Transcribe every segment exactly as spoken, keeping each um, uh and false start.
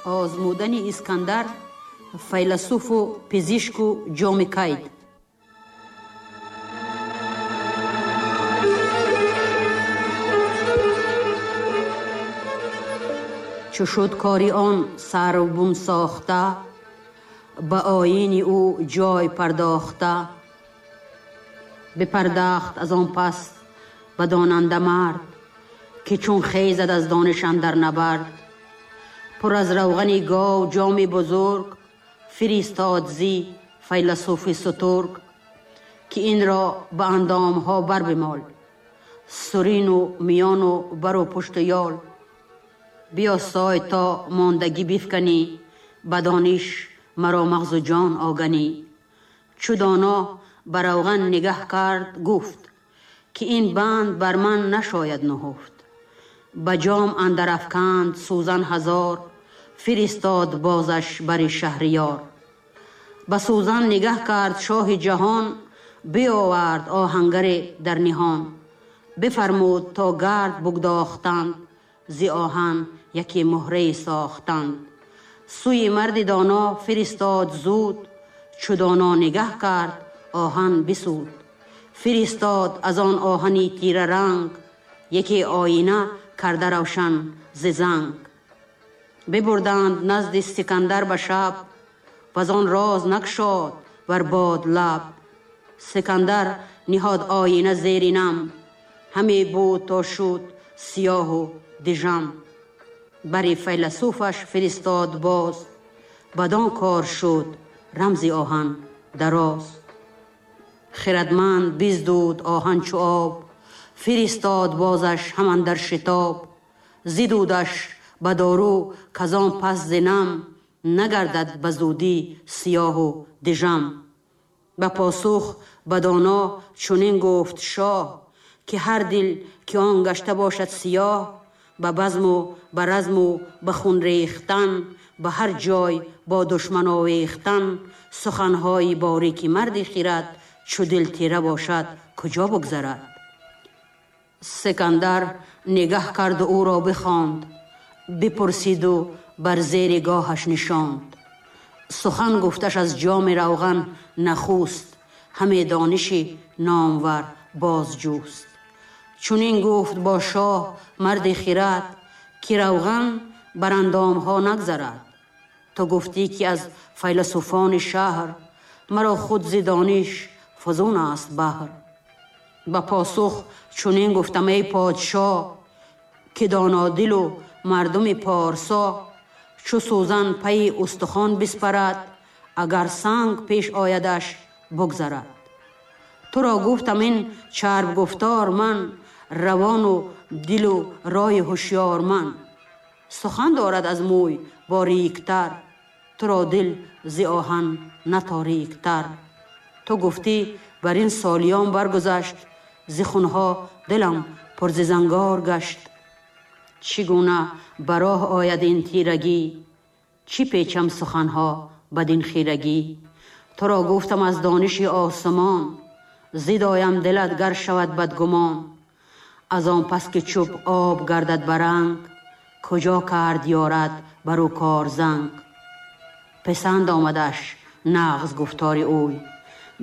Озмудани Искандар файласуфу пизишку ҷоми кайд. Чу шуд кори он сарвбум сохта, ба оини ӯ ҷой пардохта. Бипардахт аз он пас ба донанда мард, ки чун хезад аз дониш андар набард. Пур аз равғани гов ҷоми бузург, фиристод зи файласуфи сутург, ки инро ба андомҳо барбимол, сурину миёну бару пушту ёл. Биёсой то мондагӣ бифканӣ, ба дониш маро мағзу ҷон оганӣ. Чу доно ба равған нигаҳ кард, гуфт, ки ин банд бар ман нашояд нуҳуфт. Ба ҷом андар афканд сӯзан ҳазор, фиристод бозаш бари шаҳриёр. Ба сӯзан нигаҳ кард шоҳи ҷаҳон, биовард оҳангаре дар ниҳон. Бифармуд то гард бугдохтанд, зи оҳан яке муҳрае сохтанд. Сӯи марди доно фиристод зуд, чу доно нигаҳ кард оҳан бисуд. Фиристод аз он оҳани тираранг, яке оина карда равшан зи занг. Бибурданд назди Сикандар ба шаб, ваз он роз накшод бар бод лаб. Сикандар ниҳод оина зери нам, ҳаме буд то шуд сиёҳу дижам. Бари файласуфаш фиристод боз, бадон кор шуд рамзи оҳан дароз. Хирадманд биздуд оҳан чу об, фиристод бозаш ҳаман дар шитоб. Зидудаш ба дору казон пас зинам, нагардад ба зудӣ сиёҳу дижам. Ба посух ба доно чунин гуфт шоҳ, ки ҳар дил ки он гашта бошад сиёҳ, ба базму ба разму ба хун рехтан, ба ҳар ҷой бо душман овехтан, суханҳои борики марди хирад, чу дил тира бошад куҷо бигзарад? Сикандар нигаҳ карду ӯро бихонд, бипурсиду бар зери гоҳаш нишонд. Сухан гуфташ аз ҷоми равған нахуст, ҳаме дониши номвар бозҷӯст. Чунин гуфт бо шоҳ марди хирад, ки равған бар андомҳо нагзарад. Ту гуфтӣ ки аз файласуфони шаҳр, маро худ зи дониш фузун аст баҳр. Ба посух чунин гуфтам эй подшоҳ, ки донодилу мардуми порсо, чу сӯзан пайи устухон биспарад, агар санг пеш оядаш бигзарад. Туро гуфтам ин чарб гуфтор ман, равону дилу роҳи ҳушёр ман. Сухан дорад аз мӯй бориктар, туро дил зи оҳан наториктар. Ту гуфтӣ бар ин солиён баргузашт, зи хунҳо дилам пур зи зангор гашт. Чӣ гуна ба роҳ ояд ин тирагӣ, чӣ печам суханҳо бадин хирагӣ? Туро гуфтам аз дониши осмон, зидоям дилат гар шавад бадгумон. Аз он пас ки чӯб об гардад ба ранг, куҷо кард ёрад бар ӯ кор занг. Писанд омадаш нағз гуфтори ӯй,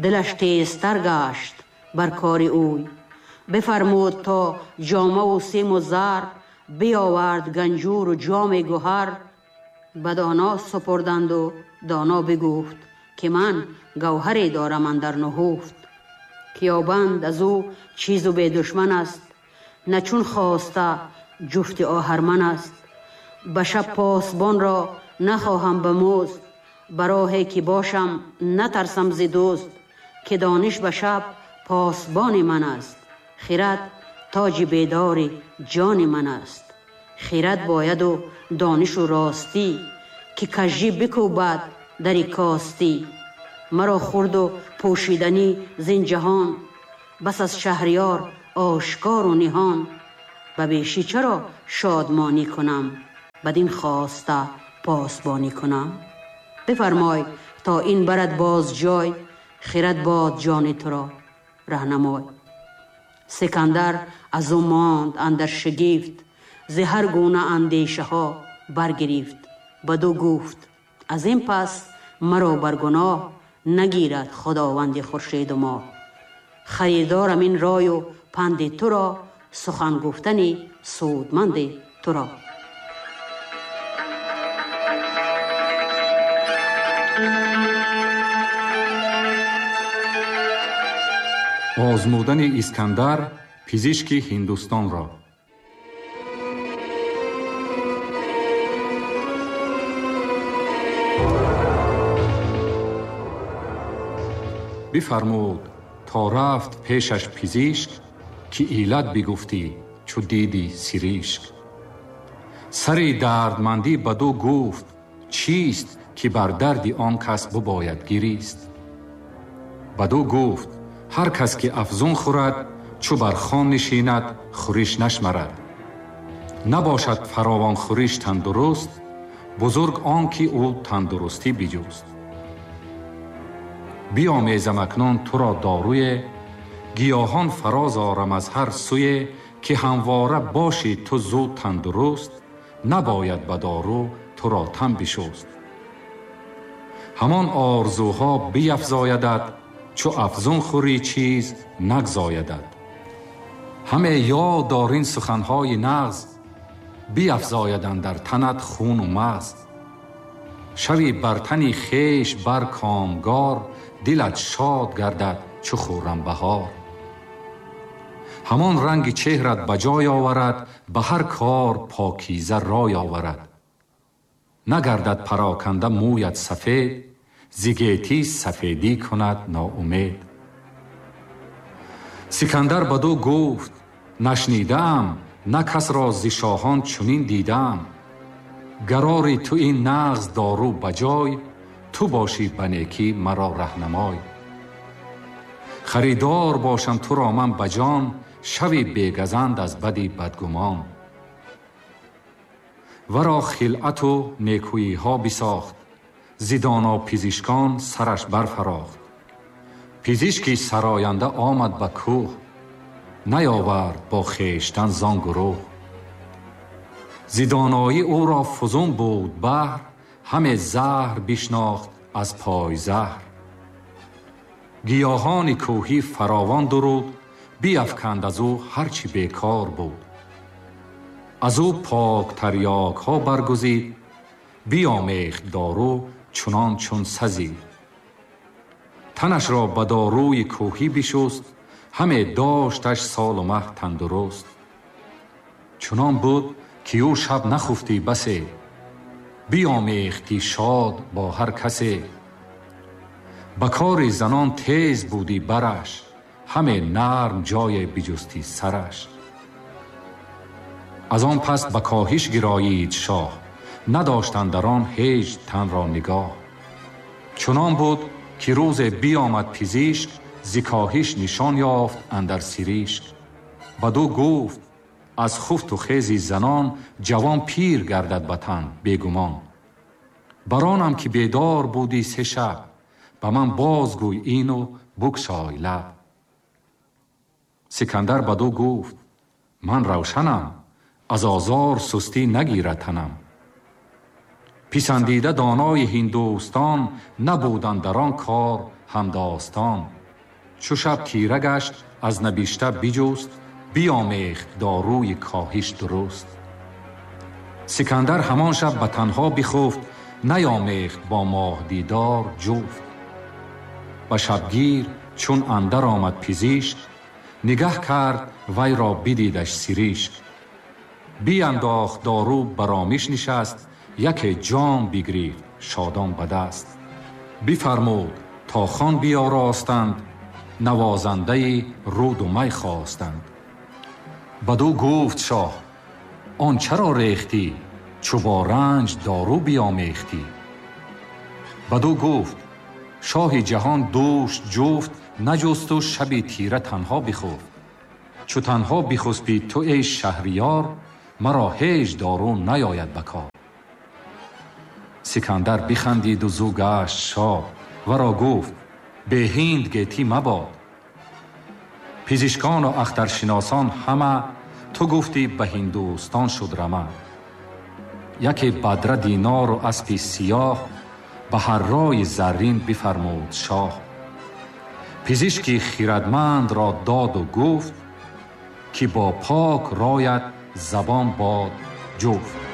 дилаш тезтар гашт бар кори ӯй. Бифармуд то ҷомаву симу зар, биовард ганҷуру ҷоми гӯҳар. Ба доно супурданду доно бигуфт, ки ман гавҳаре дорам андар нуҳуфт. Ки ёбанд аз ӯ чизу бедушман аст, на чун хоста ҷуфти оҳарман аст. Ба шаб посбонро нахоҳам ба музд, ба роҳе ки бошам натарсам зи дӯст, ки дониш ба шаб посбони ман аст. Хирад тоҷи бедори ҷони ман аст. Хирад бояду донишу ростӣ, ки кажжӣ бикӯбад дари костӣ. Маро хурду пӯшиданӣ зин ҷаҳон, бас аз шаҳриёр ошкору ниҳон. Ба бешӣ чаро шодмонӣ кунам, бадин хоста посбонӣ кунам? Бифармой то ин барад боз ҷой, хирад бод ҷони туро раҳнамой. Сикандар аз ӯ монд андар шигифт, зи ҳар гуна андешаҳо баргирифт. бадӯ гуфт аз ин пас маро бар гуноҳ нагирад худованди хуршеду моҳ. Харидорам ин рою панди туро, сухан гуфтани судманди туро. Озмудани Искандар пизишки Ҳиндустонро. Бифармуд то рафт пешаш пизишк, ки иллат бигуфтӣ чу диди сиришк. Сари дардмандӣ бадӯ гуфт чист, ки бар дарди он кас бубояд гирист. Бадӯ гуфт ҳар кас ки афзун хӯрад, чу бар хон нишинад хӯриш нашмарад. Набошад фаровон хӯриш тандуруст, бузург он ки ӯ тандурустӣ биҷӯст. Биомезам акнун туро доруе, гиёҳон фароз орам аз ҳар сӯе, ки ҳамвора бошӣ ту зуд тандуруст, набояд ба дору туро тан бишӯст. Ҳамон орзуҳо биафзоядат, чу афзун хӯрӣ чиз нагзоядат. Ҳаме ёд дор ин суханҳои нағз, биафзояданд дар танат хуну мағз. Шави бар тани хеш бар комгор, дилат шод гардад чу хуррам баҳор. Ҳамон ранги чеҳрат ба ҷой оварад, ба ҳар кор покиза рой оварад. Нагардад пароканда мӯят сафед, зи гетӣ сафедӣ кунад ноумед. Сикандар бадӯ гуфт нашнидаам, на касро зи шоҳон чунин дидаам. Гарори ту ин нағз дору ба ҷой, ту бошӣ ба некӣ маро раҳнамой. Харидор бошам туро ман ба ҷон, шави бегазанд аз бади бадгумон. Варо хилъату некӯиҳо бисохт, зи доно пизишкон сараш барфарохт. Пизишки сароянда омад ба кӯҳ, наёвард бо хештан зон гурӯҳ. Зи доноӣ ӯро фузун буд баҳр, ҳаме заҳр бишнохт аз пойзаҳр. Гиёҳони кӯҳӣ фаровон дуруд, биафканд аз ӯ ҳар чӣ бекор буд. Аз ӯ пок тарёкҳо баргузид, биомехт дору чунон чун сазид. Танашро ба доруи кӯҳӣ бишуст, ҳаме дошташ солу маҳ тандуруст. Чунон буд ки ӯ шаб нахуфтӣ басе, биомехтӣ шод бо ҳар касе. Ба кори занон тез будӣ бараш, ҳаме нарм ҷое биҷустӣ сараш. Аз он пас ба коҳиш гироид шоҳ, надоштанд дар он ҳеҷ танро нигоҳ. Чунон буд ки рӯзе биомад пизишк, зи коҳиш нишон ёфт андар сиришк. Бадӯ гуфт аз хуфту хези занон, ҷавон пир гардад ба тан бегумон. Баронам ки бедор будӣ се шаб, ба ман бозгӯй ину букшой лаб. Сикандар бадӯ гуфт ман равшанам, аз озор сустӣ нагирад танам. Писандида донои ҳиндустон, набуданд дар он кор ҳамдостон. Чу шаб тира гашт аз набишта биҷуст, биомехт доруи коҳиш дуруст. Сикандар ҳамон шаб ба танҳо бихуфт, наёмехт бо моҳдидор ҷуфт. Ба шабгир чун андар омад пизишк, нигаҳ кард вайро бидидаш сиришк. Биандохт дору баромиш нишаст, яке ҷом бигирифт шодон ба даст. Бифармуд то хон биёростанд, навозандаи руду май хостанд. Бадӯ гуфт шоҳ он чаро рехтӣ, чу бо ранҷ дору биомехтӣ? Бадӯ гуфт шоҳи ҷаҳон дӯш ҷуфт, наҷусту шаби тира танҳо бихуфт. Чу танҳо бихуспӣ ту эй шаҳриёр, маро ҳеҷ дору наёяд ба кор. Сикандар бихандиду зӯ гашт шод, варо гуфт бе ҳинд гетӣ мабод. Пизишкону ахтаршиносон ҳама, ту гуфтӣ ба Ҳиндустон шуд рама. Яке бадра динор ва аспи сиёҳ ба ҳар рои заррин бифармуд шоҳ. Пизишки хирадманд ро дод ва гуфт, ки бо пок роят забон бод ҷуфт.